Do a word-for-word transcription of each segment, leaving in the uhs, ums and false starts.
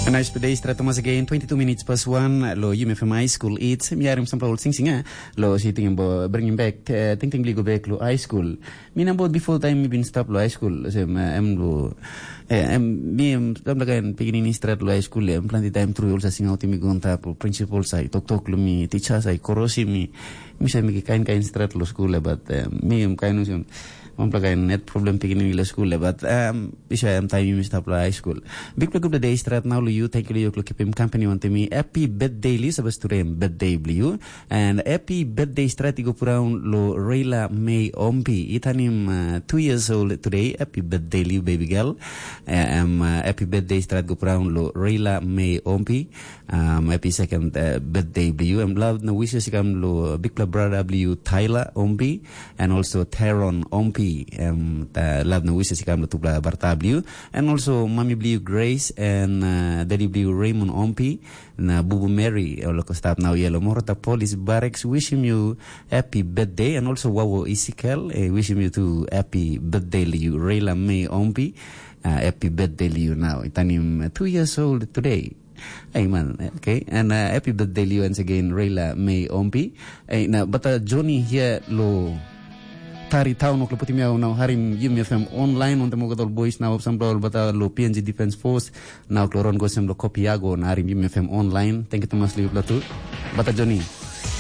Nice today, stret Thomas again, twenty-two minutes past one, lo U M F M High School. It's mi harim sampla ol sing sing, eh? Lo si ting bo bringing back, uh, ting ting go back lo high school. Mi na bot before time mi bin stop lo high school. Sem, uh, em lo, eh, em, mi em, em laga en pikinini stret lo high school, em planti time through also sing out mi go on tap, principal sai, tok tok lo mi, teacher sai, korosi mi, mi sai mi kain kain stret lo school, eh, but, uh, mi em kain usem, Wanpela kain net problem pikinini lo skul, eh, but um, bisa em taim yumi stap lo high school. Bikpela gutpela day stret nau lo yu, thank you lo yu lo kipim company wantaim mi. Happy birthday lo yu, sabas today em birthday blo yu. And happy birthday stret i go puraun lo Reila Mei Ompi. I tanim uh, two years old today. Happy birthday lo yu, baby girl. Eh, Em uh, happy birthday stret go puraun lo Reila Mei Ompi. Um, happy second uh, birthday blo yu. Em love na wishes i kam lo bikpela brother blo yu, Tyler Ompi, and also Teron Ompi. Um, uh, love na wishes i kam lo tupela brother blo yu. And also mami blo yu, Grace, and uh, daddy blo yu, Raymond Ompi, na bubu Mary, ol ko stap nau yelo. Morata Police Barracks, wishim yu happy birthday, and also wawo Isikel, eh, wishim yu tu happy birthday lo yu, Reila Mei Ompi. Uh, happy birthday lo yu now. I tanim uh, two years old today. Hey man, okay. And uh, happy birthday lo yu once again, Reila Mei Ompi. Hey, na bata Johnny here lo Tari Town, ok, lo putim yau nau harim Yumi F M online, on the Mogadol Boys now, sampla ol bata lo P N G Defense Force, nau lo ron gosem lo Kopiago, na harim Yumi F M online. Thank you, Thomas, lo yu tu. Bata Johnny,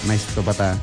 nice to bata.